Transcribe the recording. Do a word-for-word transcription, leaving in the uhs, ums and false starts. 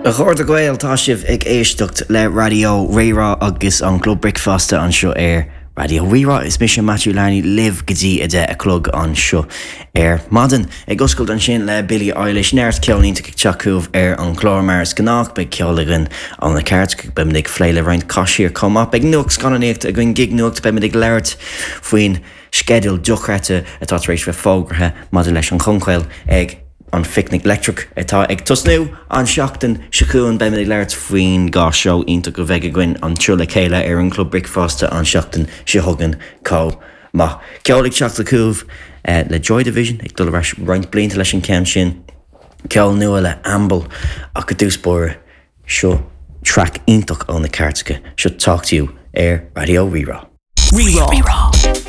A chairde Gael tá sibh ag éisteacht le Raidió Rí-Rá agus an Club Bricfeasta anseo ar Raidió Rí-Rá is mise Matthew Larney libh go dtí a deich a chlog anseo ar maidin. Ag oscailt ansin le Billie Eilish neart ceol iontach ag teacht chugaibh ar an chlár mar is gnách beidh ceol againn ó na Cairteacha beimid ag plé le roinnt caisíir chomh maith beidh nuacht scannánaíochta againn gig nuacht beimid ag labhairt faoin sceideal dochreidte atá tar éis bheith fógartha maidir leis an Choncáil ag an Phicnic Leictreach atá ag tosnú an seachtain seo chugainn beimid ag labhairt faoin dhá seó iontach a bheidh againn anseo le chéile ar an Club Bricfeasta an seachtain seo chugainn chomh maith. Ceol ag teacht chugaibh eh, le Joy Division ag dul ar ais roinnt blianta leis an ceann sin. Ceol nua le Amble ach i dtús báire seo track iontach ó na Cairteacha seo Talk to You ar Raidió Rí-Rá. Rí-Rá.